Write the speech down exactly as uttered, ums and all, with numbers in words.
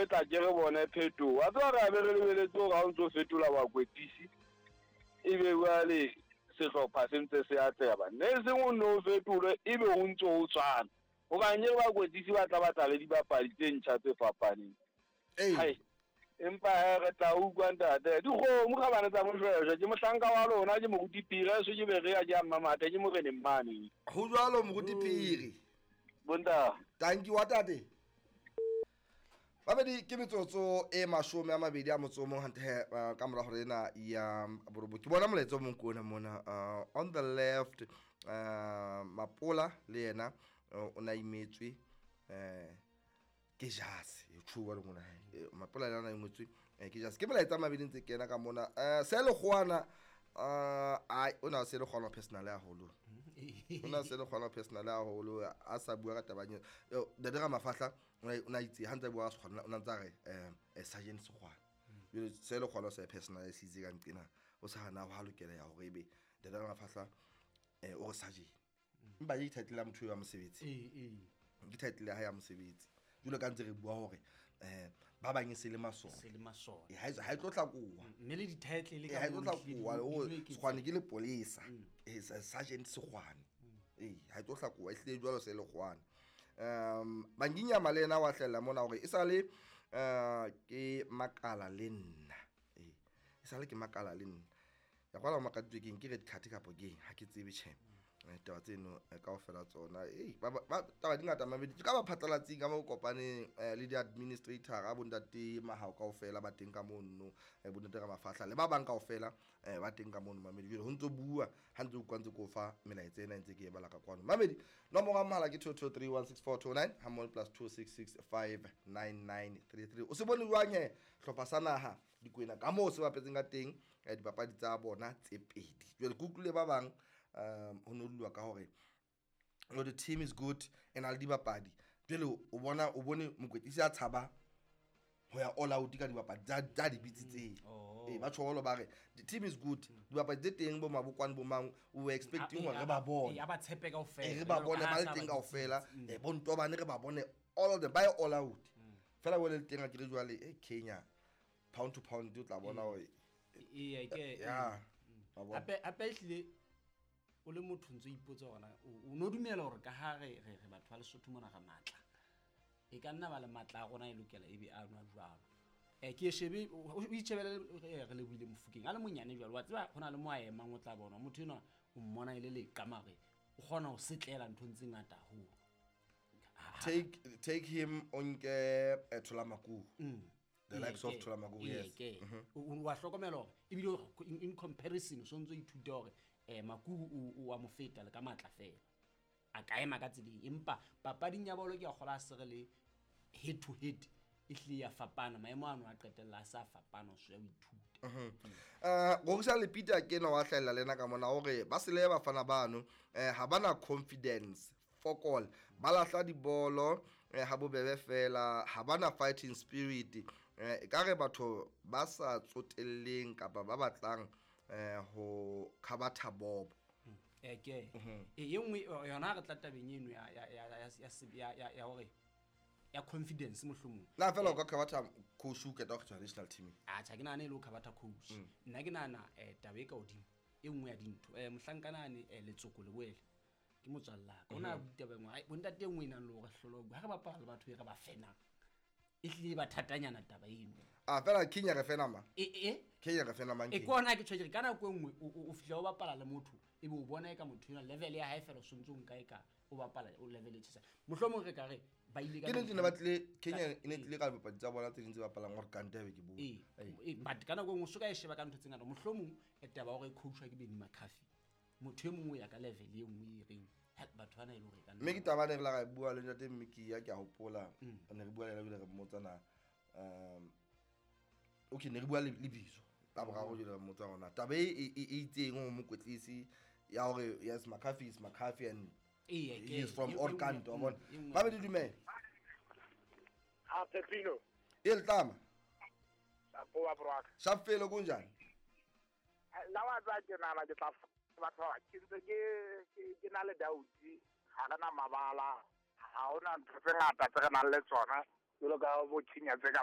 Re tla ke re bone phetoho. Wa tseba re a be re lebeletse hore ha o ntso fetola bakwetlisi ebe jwale sehlopha se ntse se atleha ba. Ne e seng o nno o fetolwe ebe o ntso o tshwana. Hobane ke bakwetlisi ba tla batla le dibapadi tse ntjha tse fapaneng. Ee. Empa he re tla utlwa ntate. Dikgomo kgabane tsa Moshweshwe, ke mohlanka wa lona, ke moruti Phiri, so ke Berea, ke a Mmamathe, ke moreneng mane. Ho jwalo moruti Phiri. Bonta. Thank you wa tate. Babedi ke metsotso e mashome a mabedi a motso o mong hantle he, uh, ka mora hore ena ya borobo. Ke bona molaetsa o mong ke ona mona, uh, on the left, uh, Mapola le yena, uh, o na imetswe, eh, ke jase, e tjhuwa le ngwana hae. Eh, Mapola le yena o imetswe, eh, ke jase. Ke molaetsa a mabedi ntse kena ka mona. Eh, se le kgwana, uh, ai, o na se le kgwana personal haholo. O na se le kgwana personal haholo, a sa bua ka taba eo. Eh, Ntate Ramafahla, o na, o na itse, ha ntse a bua ka Sekgwana, o na ntse a re, eh, eh, Sergeant Sekgwana. Jwale se le kgwana o sa e personal se itse ka nqena, o sa hana ho lokela ya hore ebe Ntate Ramafahla, eh, o re Sergeant. Empa ke title ya motho ya mosebetsi. Ee, ee. Ke title ya hae ya mosebetsi. Jwalo ka ntse re bua hore, eh, ba bang e se le masole. Se le masole. Eh, ha e, ha e tlo hlakoha. Mme le di-title le Eh, ka ha e tlo moo di hlakoha, di o di eketsa. Sekgwane ke lepolesa. Eh, sa-, Sergeant Sekgwane. Eh, ha e tlo hlakoha, e hlile jwalo se le kgwane. Um, Banginyama le yena wa hlahella mona hore e sale, eh, ke makala le nna. Eh, e sale ke makala le nna. Ya kwala makaditswe keng, ke red card kapa keng, ha ke tsebe tjhe. Eh, taba tseno, eh, kaofela tsona. Eh, ba, ba, ba, taba di ngata mabedi. Ke ka ba phatlalatsing ka mo kopaneng, eh, le di-administrator a bontate Mahao kaofela ba teng ka mono, eh, bontate Ramafahla le ba bang kaofela, eh, ba teng ka mono mamedi. Jwale ho ntso bua, ha ntse o utlwa ntse ke o fa melaetsa ena ntse ke e bala ka kwano. Mamedi, nomoro ya mohala ke two two three one six four two nine, ha mmoho le plus two six six five nine nine three three. O se bone jwang he hlopha sa naha Dikwena ka moo se bapetseng ka teng, eh, dipapadi tsa bona tse pedi. Jwale ke utlwile ba bang, um, ho no dulwa ka hore, no, the team is good e na le dibapadi. Jwale o bona, o bone mokwetlisi a tshaba ho ya all out ka dibapadi tsa, tsa di bitsitseng. Oh. Eh, ba tjho ba re the team is good, dibapadi tse teng bo Mabokwane bo mang, o expecting hore re ba bone. Eh, a ba tshepe kaofela. Eh, re ba bone ba le teng kaofela. Eh, bo Ntobane re ba bone all of them, ba ye all out. Fela bo le teng a ke re jwale, eh, Kenya pound to pound o tla bona hore Ee, ke, ya, mm. wa bona. Hape, hape ehlile o le motho ntso ipotsa hore na o, o no dumela hore ka ha re, re, re batho ba Lesotho mona re matla. E ka nna ba le matla a rona e lokela ebe a nwa jwalo. Eh, ke e shebe, o, o itjhebele, eh, re lebohile Mofokeng. A le monyane jwalo, wa tseba ho na le mo a emang o tla bona. Motho enwa o mmona e le leqa mare o kgona ho setlela nthong tse ngata haholo. Take, take him o nke, eh, Thola Makubu. Mm. The likes of Ee, Thola Makubu, ee, yes. ke. Mm-hmm. O, o wa hlokomela hore ebile o, in, in comparison o sontso ithuta hore, eh, Makubu o, o wa mo feta le ka matla fela. A ka ema ka tseleng, empa papading ya bolo ke a kgola a se re le head to head e hlile ya fapana, maemo ano a qetella a sa fapana, o se o ithuta. Mm-hmm. Eh, Rorisa le Peter ke ena wa hlahella le ena ka mona hore ba sele bafana bano, eh, ha bana confidence fokol, ba lahla dibolo, eh, ha bobebe fela, ha bana fighting spirit, eh, e ka re batho ba sa tsotelleng kapa ba batlang, eh, ho khabatha bobo. Eh, ke. Mm-hmm. E, e nngwe, o, yona re tla tabeng eno ya, ya, ya, ya, ya, ya, ya, ya hore ya confidence mohlomong. Na fela o ka khabatha coach o keta ho kgethwa national team? Atjha, ke nahana e le ho khabatha coach. Mm. Nna ke nahana, eh, taba e ka hodimo, e nngwe ya dintho. Eh, mohlankana ane, eh, Letsoko Leboele, ke motswalle wa ka. O na Mm-hmm. bua taba e nngwe, ai, bontate e nngwe e nang le hore hlolo ho bua. Ha re bapala le batho e re ba fenang, e hlile e ba thatanyana taba eno. Ah, fela Kenya re fena mang? E, e, e? Kenya re fena mang E, Kenya? ke hona ke tjho ke re, ka nako e nngwe o, o, o fihla o bapala le motho, ebe o bona eka motho enwa level ya hae fela o sontso o nka eka o bapala o level e tjhesa. Mohlomong re ka re ba ile ka Ke nnete ne ba tlile, Kenya Ka e ne tlile ka dipapadi tsa bona tse ding tse bapalang hore Kante be ke bua. Ee, Ee. ee, but ka nako e nngwe o so ka e sheba ka ntho tse ngata. Mohlomong e taba ya hore e coachwa ke Benny McCarthy, motho e mong o ya ka level e nngwe e reng, ha, batho bana e le hore e ka nna Mme ke taba ne re la ra e bua le ntate Mmikiya, ke a hopola, Mm. ne re bua le yena ebile re mmotsa na, um, okay, ne re bua le, le Bizo. La boraro jwale re mmotsa hore na taba e, e, e, e itseng ho mokwetlisi ya hore yes, McCarthy is McCarthy and Ee, he ke, is from e, e Orkant, nngwe, wa bona. e nngwe. Ba be di dumela. Ha, Pepino. E letlama. Apo wa bro. Shafelo kunjani? La wa tsa ke nana ke tla batho ba ke ntse ke, ke, ke na le doubt. Ha re na mabala, ha hona ntho tse ngata tse re nang le tsona, jwalo ka bo Kenya tse ka